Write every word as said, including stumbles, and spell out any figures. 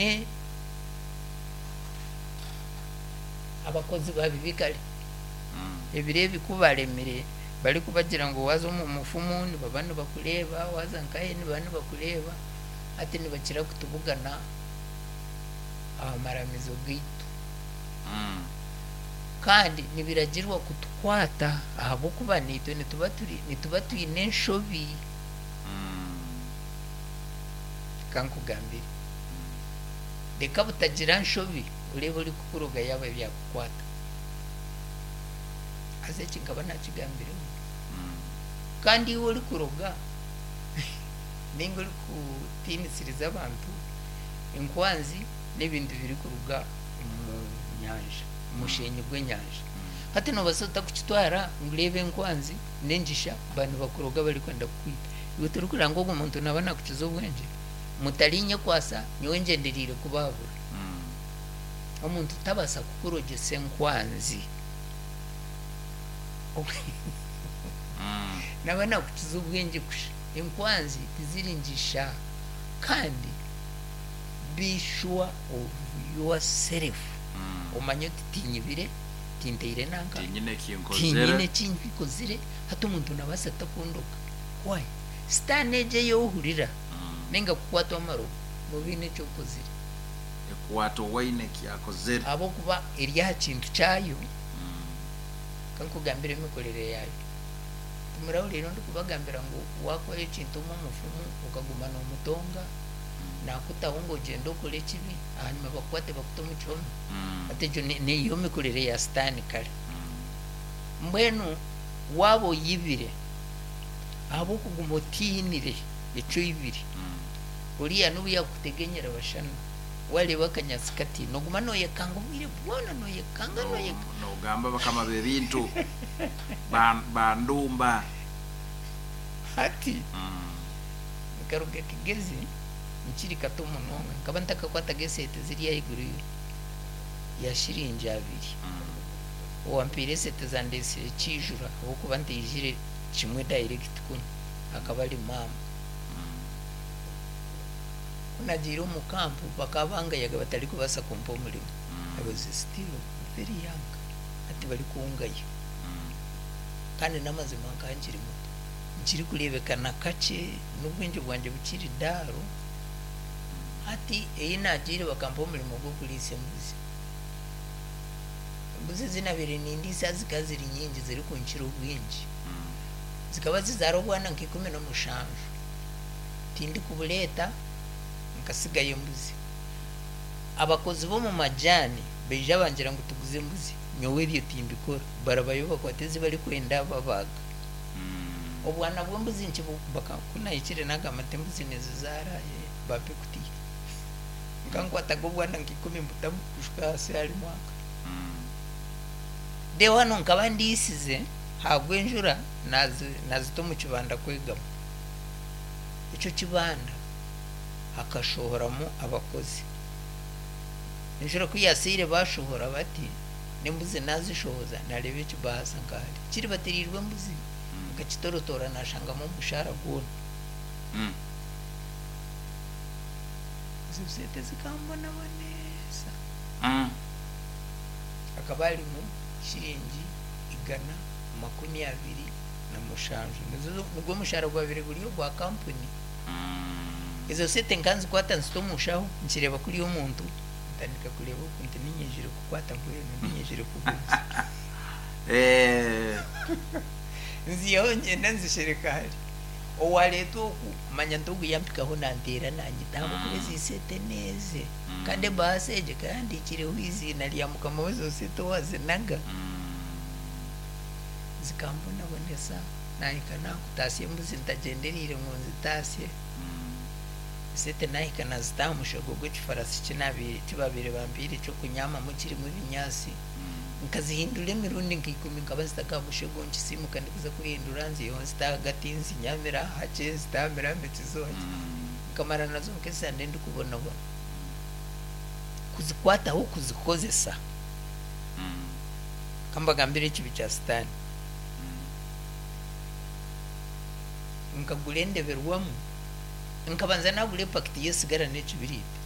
Twine abakozi babibi kare. Ebiro ebi ku baremire barikubagira ngu waaza omu mufumu nibaba nibakureeba, waaza nkahe nibaba nibakureeba, hati nibakira kutubugana aha maramizo gaitu. Kandi nibiragirwa kutukwata ahabw'okuba naitwe nituba turi nituba twine enshobi. Kankugambire, reka butagira nshobi oreebe orikukuroga yaaba byakukwata. Haza eki nkaba nakigambireho. Kandi iwe orikuroga ninga orikutiinisiriza abantu, enkwanzi n'ebintu birikuruga omu nyanja, omushenyi gw'enyanja. Hati noobaasa ota kukitwara ngu reeba enkwanzi n'engisha ba nibakuroga barikwenda kukwita. Iwe torikureba ngu ogwo muntu naaba nakukiza obwengye? Mutarinyekwasa, nyowe ngyendereire kubahabura. Omuntu tabaasa kukurogyesa enkwanzi. Naaba nakukiza obwengye kusha. Enkwanzi tiziri ngisha. Kandi be sure of yourself. Omanye oti tinyibire, tinteire nanka, tinyine ekinkozere, tinyine ekinkozire, hati omuntu nabaasa ata kundoga? Why? Sitaane egyo ei ohurira ninga kukwatwa amarogo, nooba oine eki okozire. Ekwata owaine eki akozere. Ahabw'okuba eri aha kintu kyayo. Kankugambire emikorere yaayo. Timurahuriire ndikubagambira ngu waakora ekintu omu omufumu okaguma noomutonga, naakutaho ngu ogyende okore ekibi, ahanyima bakukwate bakute omu kihome? Hati egyo niyo mikorere ya Sitaane kare. Mbwenu waaba oyibire, ahabw'okuguma otiinire eki oibire, oriya n'obu yaakukutegenyera bashana, waareeba akanyaatsi kati, nooguma nooyekanga obwire bwona, nooyekanga, nooyekanga. Noogamba bakama b'ebintu bandumba. Hati nkaruga Kigezi nkiri kato munonga, nkaba ntakakwataga esente ziri ahaiguru ya shiringi abiri. Owampiire esente zandeetsire kiijura ahabw'okuba ntaijire kimwe direct kunu, akaba ari maama. Ku naagiire omu kampu bakaba bangayaga batarikubaasa kumpa omurimo. I was still very young, hati barikungaya. Kandi n'amazima nkaba nkiri muto, nkirikureebeka na kakye, n'obwengye bwangye bukiri daaro. Hati ei naagiire bakampa omurimo gw'okuriisa embuzi. Embuzi ezi naabaire nindiisa zikaba ziri nyingi zirikunkira obwingi. Zikaba zizaara obwana nka ikumi na mushanju. Tindikubureeta nkasigayo embuzi. Abakozi b'omu majaani baija bangira ngu tuguze embuzi. Nyowe ebyo timbikora. Barabayo bakwate ezi barikwenda babaaga. Obwana bw'embuzi ku nahikire nagamba nti embuzi nizizaara, bampa ekutiya. Nkankwataga obwana nka ikumi mbutamu kushuka ahansi harimu aka. Reero hanu nkaba ndiisize hagwa enjura naazita omu kibanda kwegama. Ekyo kibanda hakashohoramu abakozi. Enjura ku yaaseire baashohora bati, n'embuzi naazishohoza naareeba ekibaasa nkahari kiribatiriirwe embuzi, nkakitorotoora naashangamu omushaara gwona. Ezo sente zikambonabonesa. Hakaba harimu shiringi igana makumi abiri na mushanju. Nigwo mushaara gwabaire guri ogwa kampuni. Ezo sente nkanzikwata nzita omu nshaho, nkireeba kuriya omuntu ntandika kureeba oku nti niinyijire kukwata mbwenu niinyijire kuguza. Nzihaho ngyenda nzishereka hari. Owaareetwa oku manya nti ogu yampikaho nanteera nanyita ahabw'okuba ezi sente n'eze. Kandi ebaasa egi ekaba ehandiikireho eiziina rya mukama w'ezo sente owaazinaga. Zikambonabonesa naahika naakutaasya embuzi ntagyendereire ngu nzitaasye. Esente naahika naazita aha mushego gw'ekifarasi ki baabaire bampiire ky'okunyaamamu kirimu ebinyaatsi. Nkazihindura emirundi nka ikumi, nkaba nzitaga aha mushego nkisiimuka ndikuza kuhindura nziihaho nzita ahagati nzinyamira hakye nzitambira mbikizo hakye. Nkamara nazo nk'esande ndikubonabona. Kuzikwataho kuzikozesa. Kambagambire ekibi kya Sitaane. Nkagura endeberwamu, nkabanza naagura epakiti y'esigara n'ekibiriiti.